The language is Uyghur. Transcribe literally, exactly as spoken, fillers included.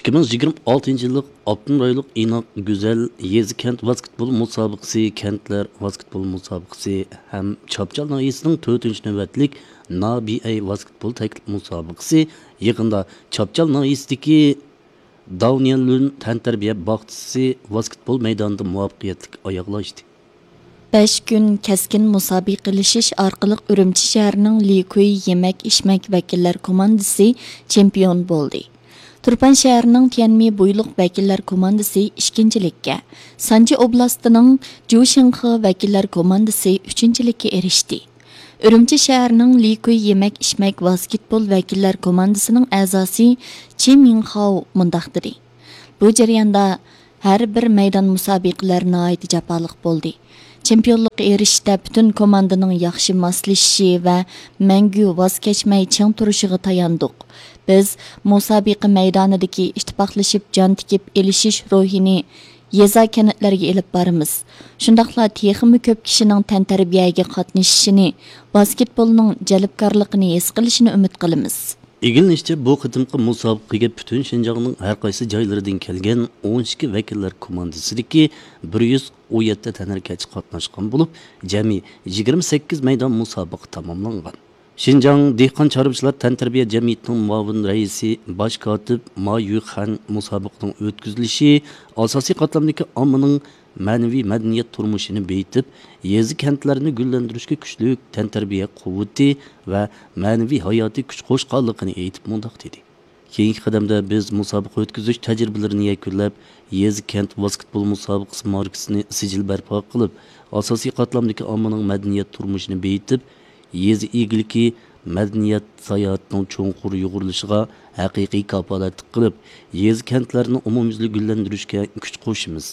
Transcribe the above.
ئىككى مىڭ يىگىرمە ئالتىنچى يىللىق ئاپتونوم رايونلۇق ئىناق گۈزەل يېزا كەنت ۋاسكېتبول مۇسابىقىسى، كەنتلەر ۋاسكېتبول مۇسابىقىسى ھەم چاپچال ناھىيەسىنىڭ تۆتىنچى نۆۋەتلىك نابىئەي ۋاسكېتبول تەكلىپ مۇسابىقىسى يېقىندا چاپچال ناھىيەسىدىكى داۋنيەنلۈن تەنتەربىيە باغچىسى ۋاسكېتبول مەيدانىدا مۇۋەپپەقىيەتلىك ئاياغلاشتى. بەش كۈن كەسكىن مۇسابىقىلىشىش ئارقىلىق ئۈرۈمچى شەھىرىنىڭ لىكۇي يېمەك ئىچمەك ۋەكىللەر كوماندىسى چېمپىيون بولدى. تۇرپان شەھىرىنىڭ تيەنمى بويلۇق ۋەكىللەر كوماندىسى ئىككىنچىلىككە، سانجى ئوبلاستىنىڭ جۇشىڭخې ۋەكىللەر كوماندىسى ئۈچىنچىلىككە ئېرىشتى. ئۈرۈمچى شەھىرىنىڭ لىكۇي يېمەك ئىچمەك ۋاسكېتبول ۋەكىللەر كوماندىسىنىڭ ئەزاسى چى مىڭخاۋ مۇنداق دېدى: بۇ جەرياندا ھەر بىر مەيدان مۇسابىقىلەر ناھايىتى جاپالىق بولدى. چېمپىيونلۇققا ئېرىشىشتە پۈتۈن كوماندىنىڭ ياخشى ماسلىشىشى ۋە مەڭگۈ ۋاز كەچمەي چىڭ تۇرۇشىغا تاياندۇق. بىز مۇسابىقە مەيدانىدىكى ئىتتىپاقلىشىپ جان تىكىپ ئېلىشىش روھىنى يېزا، كەنتلەرگە ئېلىپ بارىمىز. شۇنداقلا تېخىمۇ كۆپ كىشىنىڭ تەنتەربىيەگە قاتنىشىشىنى، ۋاسكېتبولنىڭ جەلپكارلىقىنى ھېس قىلىشىنى ئۈمىد قىلىمىز. ئىگىلىنىشىچە، بۇ قېتىمقى مۇسابىقىگە پۈتۈن شىنجاڭنىڭ ھەر قايسى جايلىرىدىن كەلگەن ئون ئىككى ۋەكىللەر كوماندىسىدىكى بىر يۈز ئون يەتتە تەنھەرىكەتچى قاتناشقان بولۇپ، جەمئىي يىگىرمە سەككىز مەيدان مۇسابىقە تاماملانغان. شىنجاڭ دېھقان چارۋىچىلار تەنتەربىيە جەمئىيىتىنىڭ مۇئاۋىن رەئىسى، باش كاتىپ ما يۈخەن مۇسابىقىنىڭ ئۆتكۈزۈلۈشى ئاساسىي قاتلامدىكى ئاممىنىڭ مەنىۋى مەدەنىيەت تۇرمۇشىنى بېيىتىپ، يېزا، كەنتلەرنى گۈللەندۈرۈشكە كۈچلۈك تەنتەربىيە قۇۋۋىتى ۋە مەنىۋى ھاياتىي كۈچ قوشقانلىقىنى ئېيتىپ مۇنداق دېدى: كېيىنكى قەدەمدە بىز مۇسابىقە ئۆتكۈزۈش تەجرىبىلىرىنى يەكۈنلەپ، يېزا، كەنت ۋاسكېتبول مۇسابىقىسى ماركىسىنى سىجىل بەرپا قىلىپ، ئاساسىي قاتلامدىكى ئاممىنىڭ مەدەنىيەت تۇرمۇشىنى بېيىتىپ، يېزا ئىگىلىكى، مەدەنىيەت ساياھىتىنىڭ چوڭقۇر يۇغۇرۇلۇشىغا ھەقىقىي كاپالەتلىك قىلىپ، يېزا، كەنتلەرنى ئومۇميۈزلۈك گۈللەندۈرۈشكە كۈچ قوشىمىز.